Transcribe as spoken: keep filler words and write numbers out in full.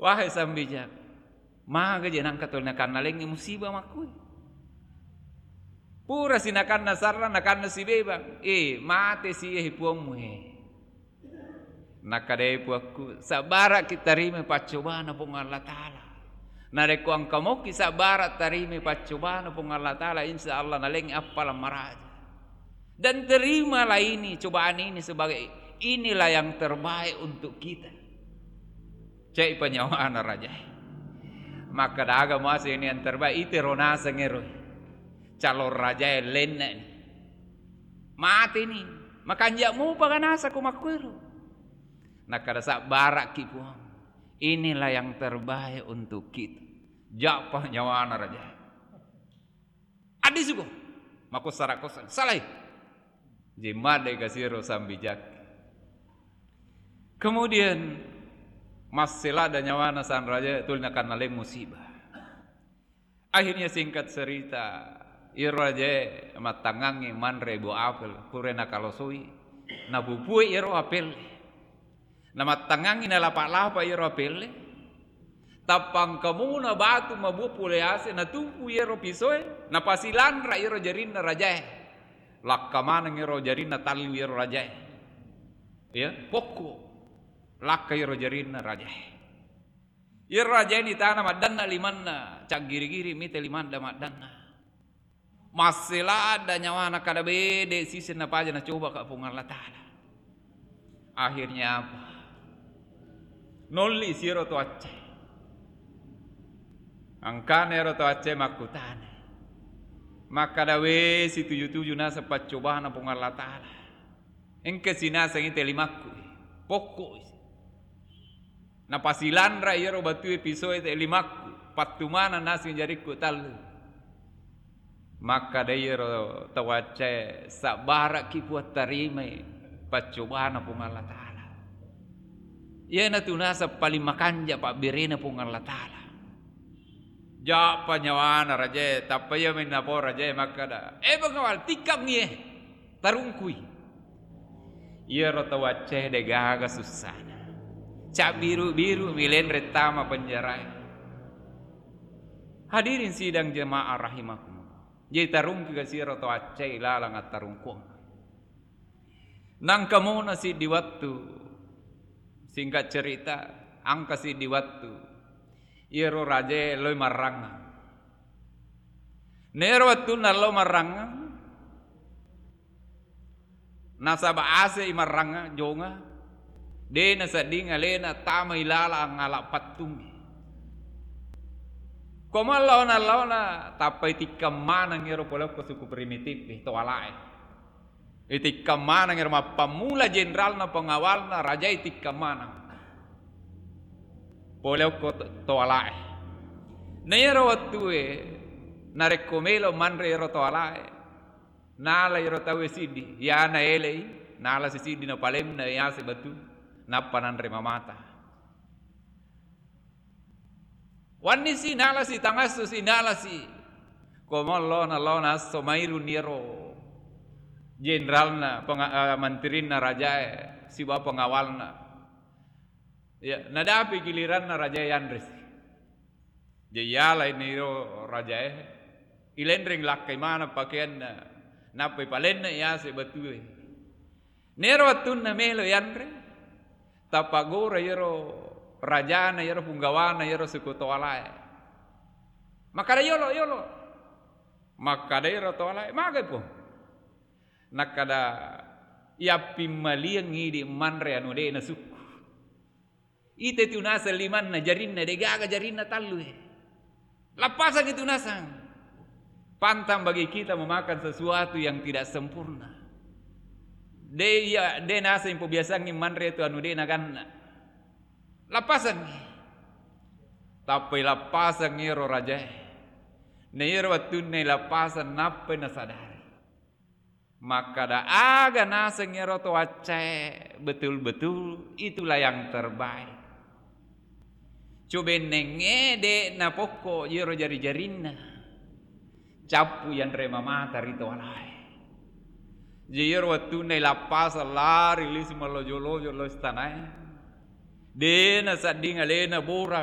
Wahai Sambijang, maga je nangka tuli nakanna lengngi musibah makkui. Pura si nakanna sarra, nakanna sibebang. Eh, mate si, eh, puammu, eh. Nakkadai puakku, sabbara'ki tarimai paccobana Puang Allah Ta'ala. Narekko engka moki sabbara tarimai paccobana Puang Allah Ta'ala, insya Allah nalengngi appalang maraja. Dan terimalah ini, cobaan ini sebagai inilah yang terbaik untuk kita. Cai panyawana rajae. Makkeda aga muaseng ini yang terbaik, itero naseng ero. Calon rajae lenne'ni. Mateni. Makanja mupa ga naseng ko makkuero. Nakkeda sabbara'ki Puang. Inilah yang terbaik untuk kita. Jappa nyawana rajae. Addi suko. Mako sara kosa. Salai. Jemma de kasiro Sambijang. Kemudian massela da nyawana sang raja tuli nakanna leng musibah. Akhirnya singkat cerita, iro rajae mattangangngi manre buah apel, pura nakalosoi, napupue iro apel. Namattangangngi nalapa-lapa iyaro apelle, tappa engka muna batu mabua pole ase, natumpu iyaro pisoe, napasilanra iyaro jarinna rajae. Lakka maneng iyaro jarinna tallu iyaro rajae. Ya, pokko. Lakka iyaro jarinna rajae. Iyaro rajae ni tana maddanna limanna, caggiri-giri mite limanna maddanna. Masselada nyawana kada bede siseng napaja nacobaka Puang Allah Ta'ala. Akhirnya apa? Nolli siro to acce. Angkana ero to acce makkutana. Makkada we situju-tuju naseng paccobana Puang Allah Ta'ala. Engka sinaseng ite limakku. Pokko. Napasilanra iyaro batue pisoe te limakku, pattumana naseng jarikku tallu. Makkada iyaro tau accae, sabbara'ki Puang tarimai paccobana Puang Allah Ta'ala. Iyanatu naseng paling makanja pabberena Puang Allah Ta'ala. Jappa nyawana rajae, tappa iya mennapo rajae makkada, eh, pengawal, tikkammi, eh, tarungkui. Iyaro tau accae degaga sussana. Cabbiru-biru mi lenre tama penjarae. Hadirin sidang jemaah rahimakumullah. Jadi tarungki kasiro tau accae lalang attarungkuang. Nangka mona siddi wattu, singkat cerita, angka siddi wattu, iyaro rajae loi marrangngang. Nero wattunna lo marrangngang, nasaba ase i marrangngang jonga, de nasedding alena tama ilala angala pattungngi. Ko mallona-lona tappai tikkang maneng ero polokko suku primitif e, to alae. Itikkang maneng ero mappammula jenderalna pengawalna raja itikkang maneng. Pole okko to-, toalae. Na iyaro wettue narekko melo manre ero toalae, nala ero tauwe siddi, iyana elei, nala si siddi napalemna yase batu, nappa nanre mamata. Wannisi nalasi, tangassusi nalasi. Ko mallona-lona esso mairuni ero jenderalna, penga-, eh, mantirinna rajae, sibawa pengawalna. Ya, nadapi giliranna rajae yanresi. Jadi yalai niro rajae, ilenreng lakkai maneng pakeanna, nappai palenna yase batue. Nero wettunna melo yanre, tappagora iyaro rajana, iyaro punggawana, iyaro suku toalae. Makkada, "Yolo, yolo." Makkada iyaro toalae, "Magai, Puang?" Nakkada, "Iyappimmaliang idi manre anu de nasukku." Ite tu naseng limanna jarinna, degaga jarinna tallu e. Lappasangi tu naseng. Pantang bagi kita memakan sesuatu yang tidak sempurna. De iya, de naseng pobiasangi manre tu anu de naganna. Lappasangi. Tappai lappasangi ero rajae. Na iyaro wettunna lappasang nappai nasadari. Makkada, "Aga naseng ero to accae betul-betul itulah yang terbaik." Cobennengnge de napokko iyero jari-jarinna. Cappu yanre mamata ri toalae. Jadi iyero wettunna lappasang lari lisi mallojo-lojo lo istanae. De nasedding alena bora